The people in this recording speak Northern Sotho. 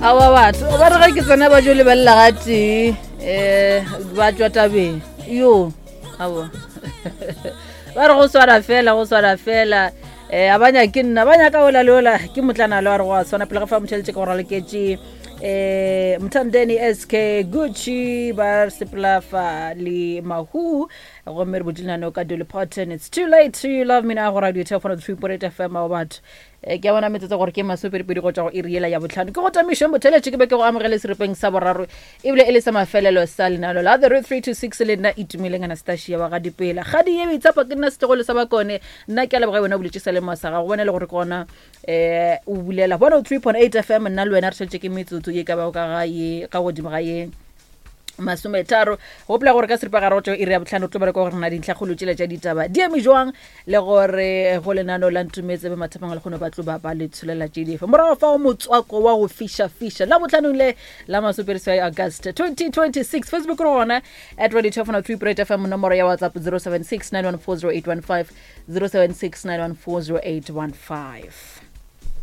Awa batho ba re ge ke tsena ba jo lebelela ga tee um ba tswa tabeng yo aowa ba re go swara fela go swara fela um a ba nyake nna ba nyaka ola le ola ke motlana le wa re go a tshwana pele ga fa motšheletše ka go raloketše um mthandeni sk gucci ba sepela fa le mahu gomme re botše lenaneo ka Dolly Parton it's too late to love me now go radio 3.8 fm ao batho Eh, ke a bona metsotso gore ke masomepedipedi go tšwa go iri yela ya botlhano ke go tamišeng botheletše ke be ke go amogele seripeng sa boraro ebile e le sa mafelelo sa lenalo la the road 326 le nna itumeleng anastasia wa ga dipela gadi ye boitshepo ke nna setlogolo sa bakone nna ke a leboga wena o buletše sa lemo sa gago bona le gore ke gona um o bulela 103.8 fm nna le wena re šetše ke metsotso ye ka bago ka ga ye ka godimo ga ye masometharo gopola gore ka seripagare go tšwa iri ya botlhano tlo bereka gore na dintlhakgolo tšela tša ditaba di eme jwang le gore go lenano la ntumetse be mathapang le kgone ba tlo ba ba le tsholela tše dife morago fa o motswako wa go fiša-fiša la botlhanong le la masoperiswai august 2026 facebook re gona at radio 203 point fm nomoro ya whatsapp 076 914 0815 076 914 0815.